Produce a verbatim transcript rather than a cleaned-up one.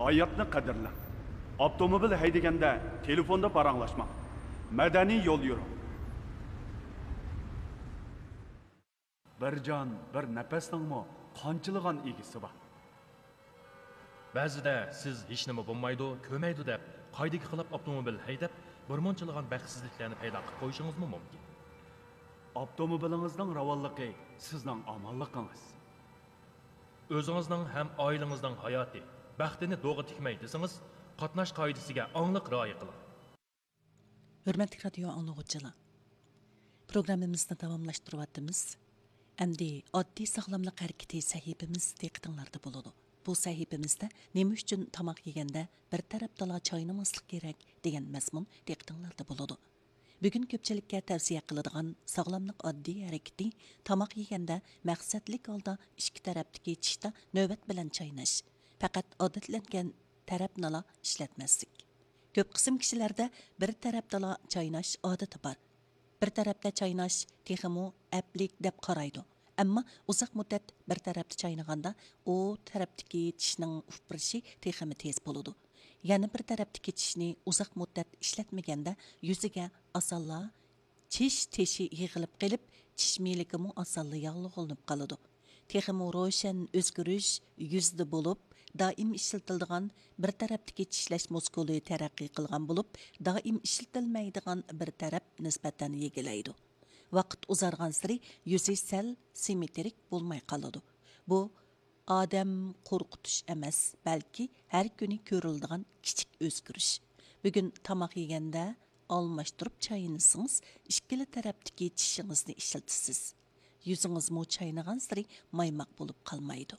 ھاياتنى قەدىرلەڭ. ئاپتوموبىل ھەيدىگەندە تېلېفوندا پاراڭلاشماڭ. مەدەنىي يول يۈرۈڭ. بىر جان، بىر نەپەسنىڭمۇ قانچىلىغان ئىگىسى بار. بەزىدە سىز ھېچنېمە بولمايدۇ، كۆرمەيدۇ دەپ، قائىدىگە خىلاپ ئاپتوموبىل ھەيدەپ، بىر مۇنچىلىغان بەختسىزلىكلەرنى پەيدا قىلىپ قويۇشىڭىزمۇ مۇمكىن. ئاپتوموبىلىڭىزنىڭ راۋانلىقى سىزنىڭ ئامانلىقىڭىز. ئۆزىڭىزنىڭ ھەم ئائىلىڭىزنىڭ ھاياتى، بەختىنى دوغا تىكمەي دېسىڭىز، قاتناش قائىدىسىگە ئاڭلىق رىئايە قىلىڭ. ھۆرمەتلىك رادىيو ئاڭلىغۇچىلار، پروگراممىمىزنى داۋاملاشتۇرۇۋاتىمىز. ئەمدى ئاددىي ساغلاملىق ھەرىكىتى سەھىپىمىز دىققىتىڭلاردا بولىدۇ. بۇ سەھىپىمىزدە نېمە ئۈچۈن تاماق يېگەندە بىر تەرەپتىلا چاينىماسلىق كېرەك دېگەن مەزمۇن دىققىتىڭلاردا بولىدۇ. بۈگۈن كۆپچىلىككە تەۋسىيە قىلىدىغان ساغلاملىق ئاددىي ھەرىكىتى، تاماق يېگەندە مەقسەتلىك ھالدا ئىككى تەرەپتىكى چىشتا نۆۋەت بىلەن چايناش. پەقەت ئادەتلەنگەن تەرەپنىلا ئىشلەتمەسلىك. كۆپ قىسىم كىشىلەردە بىر تەرەپتىلا چايناش ئادىتى بار. بىر تەرەپتە چايناش تېخىمۇ ئەپلىك دەپ قارايدۇ. ئەمما ئۇزاق مۇددەت بىر تەرەپتە چاينىغاندا، ئۇ تەرەپتىكى چىشنىڭ ئۇپرىشى تېخىمۇ تېز بولىدۇ. يەنە بىر تەرەپتىكى چىشنى ئۇزاق مۇددەت ئىشلەتمىگەندە، يۈزىگە ئاسانلا چىش تېشى يىغىلىپ قېلىپ، چىش مىلىكىمۇ ئاسانلا ياغلىغلىنىپ قالىدۇ. تېخىمۇ روشەن ئۆزگىرىش يۈزدە بولۇپ، دائىم ئىشلىتىلىدىغان بىر تەرەپتىكى چىشلەش مۇسكۇلى تەرەققىي قىلغان بولۇپ، دائىم ئىشلىتىلمەيدىغان بىر تەرەپ نىسبەتەن يېگىلەيدۇ. ۋاقىت ئۇزارغانسېرى يۈزى سەل سىممېترىك بولماي قالىدۇ. بۇ ئادەم قورقۇتۇش ئەمەس، بەلكى ھەر كۈنى كۆرۈلىدىغان كىچىك ئۆزگىرىش. بۈگۈن تاماق يېگەندە ئالماشتۇرۇپ چاينىسىڭىز، ئىككىلا تەرەپتىكى چىشىڭىزنى ئىشلىتىسىز. يۈزىڭىزمۇ چاينىغانسېرى مايماق بولۇپ قالمايدۇ.